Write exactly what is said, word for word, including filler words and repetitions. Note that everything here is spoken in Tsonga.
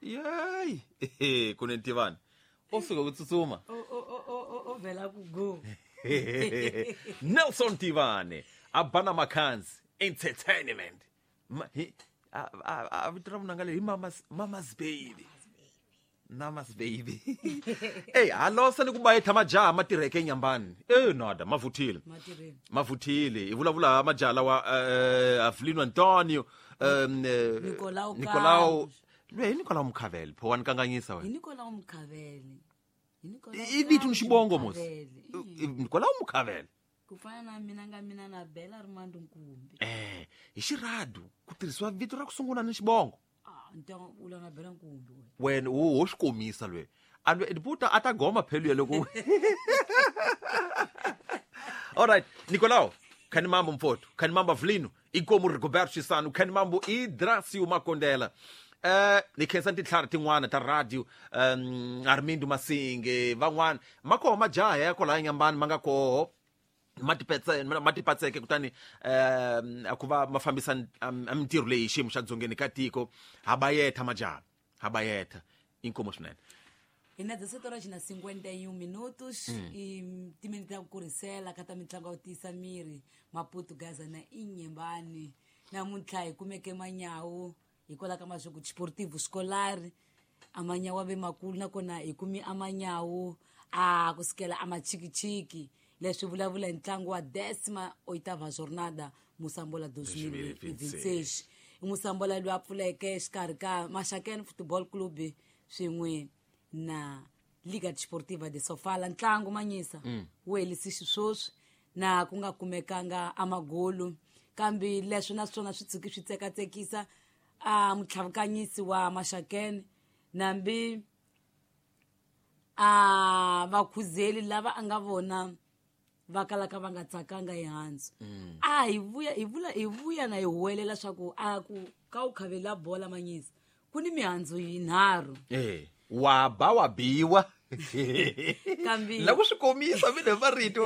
Yeyi, ku ni Ntivani o suka ku tsutsuma. O o o o o o vhela ku go. Nelson Tivani a ba na Makhanzi Entertainment. Ma, hi, a, a, a vito ra munanga leyi hi Mama's, Mama's Baby. Namas Baby. Ey, halosa ni ku bayetha majaha ma tirheke enyambani. E nada, ma vuthile. Matirheni. Ma vuthile. Hi vulavula majaha lawa eh Avelino Antonio, um eh, Nicolau Nicolau. Carlos. Lwe hi Nicolau Mukhavele, pho wa ni kanganyisa Hi wena. Nicolau Mukhavele. Hi Nicolau I vito ni Carlos xibongo mos. Mukhavele. I- Nicolau Mukhavele. Ku fana na mina nga mina na Bela Rimando Nkumbi. Eh, hi xiradu ku tirhisiwa vito ra ku sungula ni xibongo. Ah, ntango ula na Bela Nkumbi wena. Wena wo ho swi komisa lwe. A lwe buta a ta goma phelu ya loko. All right, Nicolau, Khanimambo mfowethu, Khanimambo Avelino, Inkomo Rigoberto Chisano, Khanimambo Idracio Makondela. Eh, ni khensa tintlhari tin'wana ta radio, um Armindo Masinge, van'wana ma koho majaha ya kwalaya Nyambani ma nga koho ma tipetse ma tipatseke kutani um ku va ma fambisa mintirho leyi hi xiyimo xa dzongeni ka tiko. Ha bayetha majaha, ha bayetha, inkomo swinene. Hi na dezessete horas na cinquenta e um minutos e timinete ta ku kurisela ka ta mitlangu ya ku tiyisa miri Maputo Gaza na Inhambane. Namuntlha hi kumeke manyawu hikwalaho ka maswaku Desportivo Escolar a manyawu a ve makulu nakona hi kumi a manyawu a kusukela a machikichiki. Leswi vulavula hi ntlangu wa décima oitava jornada Moçambola dois mil e vinte e seis. I Moçambola loyi a pfuleke exikarhi ka Maxakeni Football Club swin'we na Liga Desportiva de Sofala. Ntlangu manyisa wu helisi xisweswi na ku nga kumekanga a magolu, kambe leswi na swona swi tshuki swi tsekatsekisa a mutlhavukanyisi wa Maxakeni nambi a vakhuzeli lava a nga vona va kalaka va nga tsakanga hi handzu. A hi vuya hi vula hi vuya na hi huwelela swa ku a ku ka u khavela bola manyisa ku ni mihandzu yinharhu. Eh, wa ba wa biwa. Kambe La ku swi komisa mina hi marito.